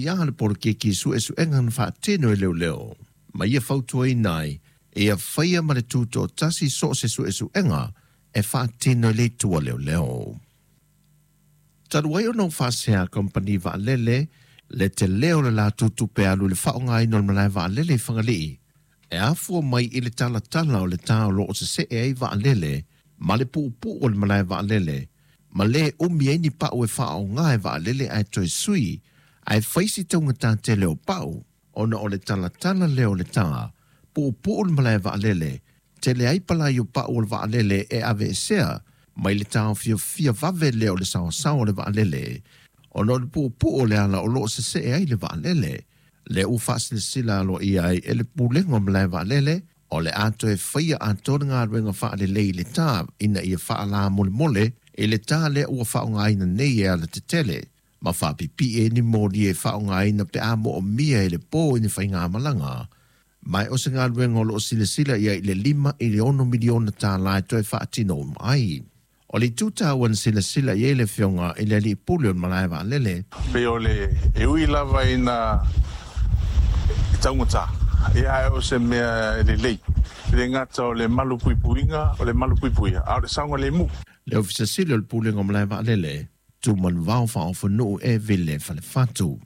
faaaofia le poloketi suesuega na faatino e leoleo. Ma ia fautuaina ai, ia faia ma le tutoatasi so o se suesuega e faatino e le itu a leoleo. Talu ai ona ua faasea kamupani vaalele le tele o le latou tupe alu i le faaaogaina o le malae vaalele i Fagalii, e afua mai i le talatala o le tā o lo o sesee ai vaalele ma le puupuu o le malae vaalele, ma lē umi ai ni pau e faaaoga e vaalele ae toe sui, ae fai si taugata tele o pau, ona o le talatala lea o le tā, puupuu le malae vaalele, tele ai palai o pau o le vaalele e aveesea mai le taofiofia vave lea o le saoasao o le vaalele, ona o le puupuu o le ala o lo o sesee ai le vaalele. Lea ua faasilasila aloaia ai e le Pulega o Malae Vaalele, o le a toe faia atoa le galuega faalelei i le tā ina ia faalamolemole i le tā lea ua faaaogaina nei e alatetele, ma faapipii ai ni moli e faaaogaina pe a moomia e le po i ni faigamalaga. Ma o se galuega o lo o silasila i ai i le 5 i le 6 miliona tālā e toe faatino uma ai. O le itu taua na silasila i ai le Afioga i le Alii Pule o le Malae Vaalele. Pei o le e ui lava ina e taugata, ia ae o se mea e lelei. E le gata o le malupuipuiga, o le malupuipuia, a o le saogalemu. Le Ofisa Sili o le Pulega o Malae Vaalele, Tumanuvao Faaofonuu e Vile Falefatu.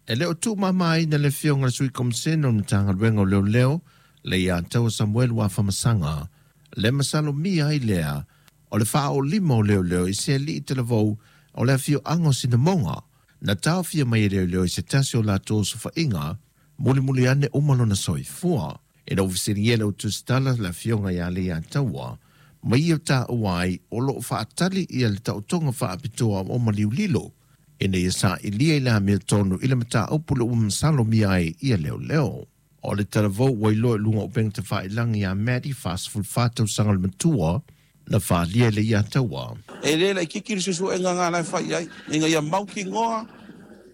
E le o tuumamaina le Afioga i le Sui Komisena o le Matagaluega o Leoleo, Leiataua Samuelu Afamasaga, le masalomia ai lea o le faaolima o leoleo i se alii talavou o le afioaga o Sinamoga, na taofia mai e leoleo i se tasi o latou osofaiga, mulimuli ane uma lona soifua. Ina ua fesiligia le au tusitala le afioga ia Leiataua, ma ia taua ai o lo o faatali ia le taotoga faapitoa o maliu lilo, ina ia sailia i le amiotonu i le mataupu lea ua masalomia ai ia leoleo. O le talavou ua iloa i luga o upega tafailagi ia Maddie, 44 tausaga le matua, na faaalia e Leiataua. E le laitiiti le suesuega na la e fai ai, ina ia mautinoa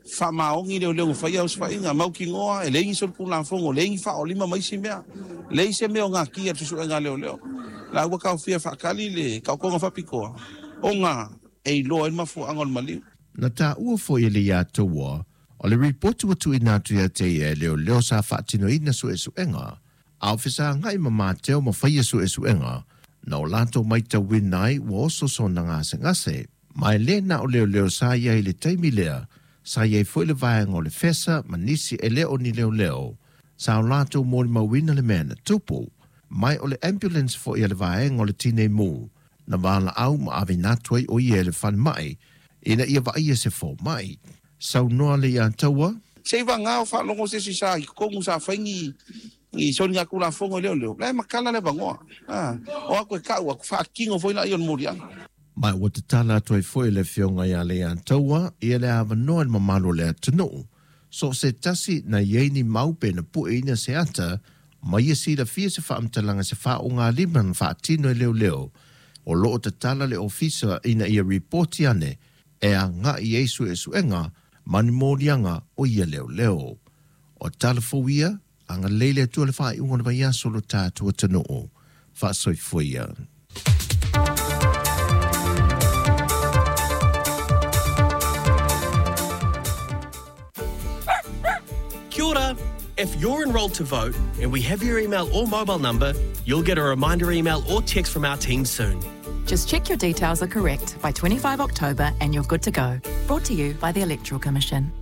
faamaoni leoleo na faia osofaiga, mautinoa e leai ni solitulafono, leai ni faaolima ma isi mea, leai se mea o natia i le suesuega a leoleo. La ua taofia e faatali le taotoga faapitoa ona e iloa ai le mafuaaga o le maliu. Na taua foi e Leiataua, o le ripoti ua tuuina atu ia te ia e leoleo sa faatinoina suesuega, a o fesagai ma Mateo ma faia suesuega, na o latou matauina ai ua oso sona gasegase. Ma e le na o leoleo sa i ai i le taimi lea, sa i ai foi le vaega o le FESA ma nisi e le o ni leoleo, sa o latou molimauina le mea na tupu. Ma o le ambulance foi a le vaega o le Tinei Mu, na valaau ma aveina atu ai o ia e le falemai, ina ia vaaia se fomai. Saunoa Leiataua. Seivaga o faalogo se isi sa i totonu sa fai ni ni soligatulafono i leoleo, la e matala le avanoa. A o atu e tau atu, faatino foi laia o le moliaga. Ma ua tatala atu ai foi e le Afioga ia Leiataua ia le avanoa i le mamalu o le atunuu, so o se tasi na i ai ni mau pe na pueina se ata, ma ia silafia se faamatalaga se faauugalima na faatino e leoleo, o lo o tatala le ofisa ina ia ripoti ane e agai i ai suesuega ma ni moliaga o ia leoleo. O tala fou ia, agalelei le Atua i le faaiuga o le vaiaso o lo tatou atunuu. Faasoifua ia. Kia ora! If you're enrolled to vote and we have your email or mobile number, you'll get a reminder email or text from our team soon. Just check your details are correct by 25 October and you're good to go. Brought to you by the Electoral Commission.